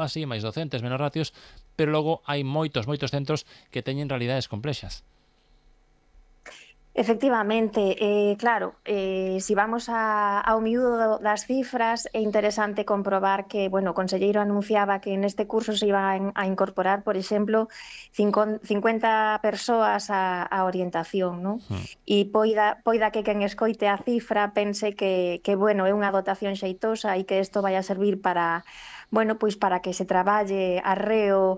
así, máis docentes, menos ratios, pero logo hai moitos centros que teñen realidades complexas. Efectivamente, claro, si vamos ao miúdo das cifras, é interesante comprobar que, bueno, o conselleiro anunciaba que neste curso se iban a incorporar, por exemplo, 50 persoas á orientación, non? E poida que quen escoite a cifra pense que, bueno, é unha dotación xeitosa e que isto vai a servir para, bueno, pois para que se traballe arreo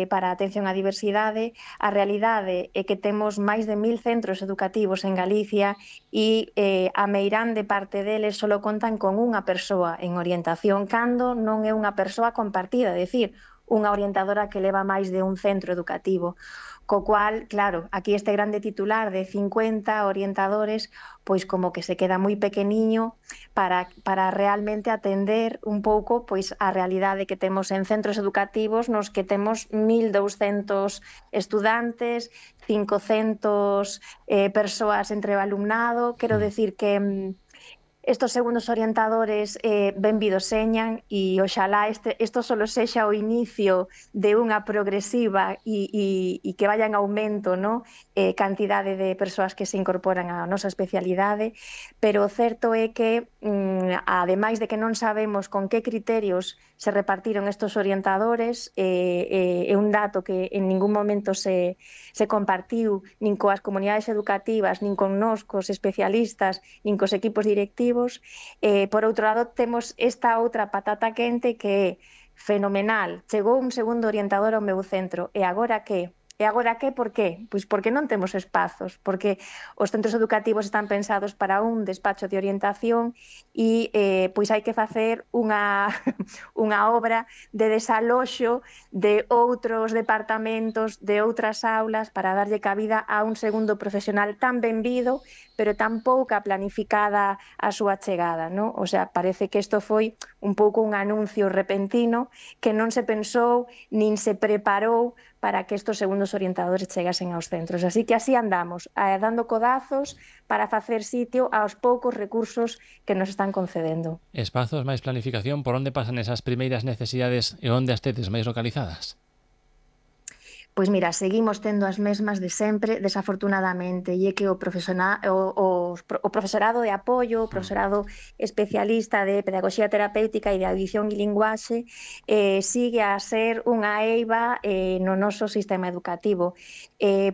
para a atención á diversidade. A realidade é que temos máis de 1000 centros educativos en Galicia e a meirande parte deles só contan con unha persoa en orientación, cando non é unha persoa compartida, é dicir, unha orientadora que leva máis de un centro educativo. Co cual, claro, aquí este grande titular de 50 orientadores, pois como que se queda moi pequeniño para realmente atender un pouco pois a realidade que temos en centros educativos nos que temos 1200 estudantes, 500 persoas entre o alumnado. Quero decir que estos segundos orientadores benvidos señan e oxalá isto solo sexa o inicio de unha progresiva e que vaya en aumento, ¿no? Cantidade de persoas que se incorporan á nosa especialidade, pero o certo é que ademais de que non sabemos con que criterios se repartiron estos orientadores, é un dato que en ningún momento se compartiu nin coas comunidades educativas, nin con nós, cos especialistas, nin cos equipos directivos. Por outro lado, temos esta outra patata quente que é fenomenal. Chegou un segundo orientador ao meu centro. E agora que? E agora que? Por qué? Pois porque non temos espazos, porque os centros educativos están pensados para un despacho de orientación e pois hai que facer unha obra de desaloxo de outros departamentos, de outras aulas, para darlle cabida a un segundo profesional tan benvido, pero tan pouca planificada a súa chegada, non? O sea, parece que isto foi un pouco un anuncio repentino que non se pensou nin se preparou para que estos segundos orientadores chegasen aos centros. Así que así andamos, dando codazos para facer sitio aos poucos recursos que nos están concedendo. Espazos, máis planificación, por onde pasan esas primeiras necesidades e onde as tedes máis localizadas? Pois mira, seguimos tendo as mesmas de sempre, desafortunadamente, e é que o profesorado de apoio, o profesorado especialista de pedagogía terapéutica e de audición e linguaxe sigue a ser unha eiva no noso sistema educativo.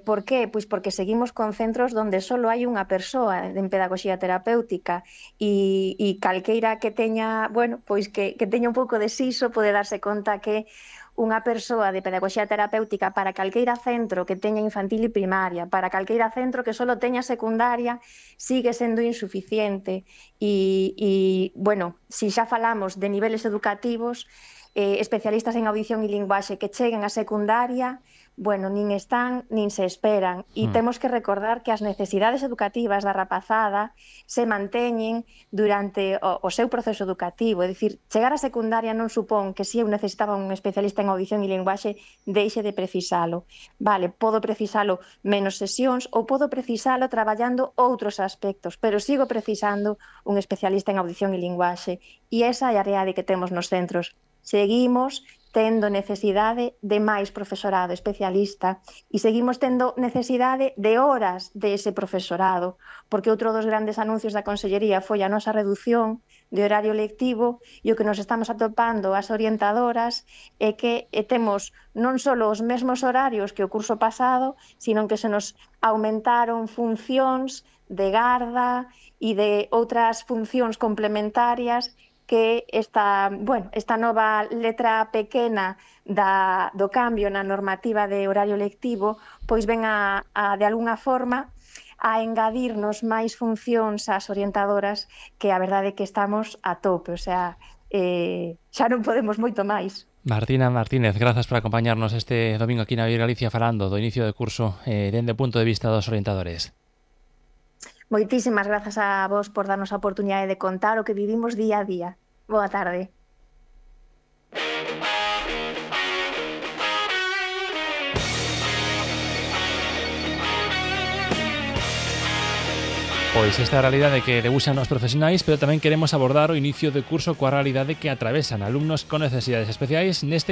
Por qué? Pois porque seguimos con centros donde só hai unha persoa en pedagogía terapéutica e calqueira que teña, bueno, pois que teña un pouco de siso pode darse conta que unha persoa de pedagogía terapéutica para calqueira centro que teña infantil e primaria, para calqueira centro que só teña secundaria, sigue sendo insuficiente. E bueno, se xa falamos de niveles educativos, especialistas en audición e linguaxe que cheguen a secundaria, bueno, nin están, nin se esperan. E temos que recordar que as necesidades educativas da rapazada se manteñen durante o seu proceso educativo. É dicir, chegar a secundaria non supón que se eu necesitaba un especialista en audición e linguaxe deixe de precisalo. Vale, podo precisalo menos sesións ou podo precisalo traballando outros aspectos, pero sigo precisando un especialista en audición e linguaxe. E esa é a realidade que temos nos centros. Seguimos tendo necesidade de máis profesorado especialista e seguimos tendo necesidade de horas de ese profesorado, porque outro dos grandes anuncios da Consellería foi a nosa reducción de horario lectivo e o que nos estamos atopando as orientadoras é que temos non só os mesmos horarios que o curso pasado, sino que se nos aumentaron funcións de garda e de outras funcións complementarias que esta nova letra pequena do cambio na normativa de horario lectivo pois ven a de algunha forma a engadirnos máis funcións ás orientadoras, que a verdade é que estamos a tope, o sea, xa non podemos moito máis. Martina Martínez, grazas por acompañarnos este domingo aquí na Vir Galicia falando do inicio de curso dende o punto de vista dos orientadores. Moitísimas grazas a vos por darnos a oportunidade de contar o que vivimos día a día. Boa tarde. pois esta realidade que debuxan os profesionais, pero tamén queremos abordar o inicio de curso coa realidade que atravesan alumnos con necesidades especiais neste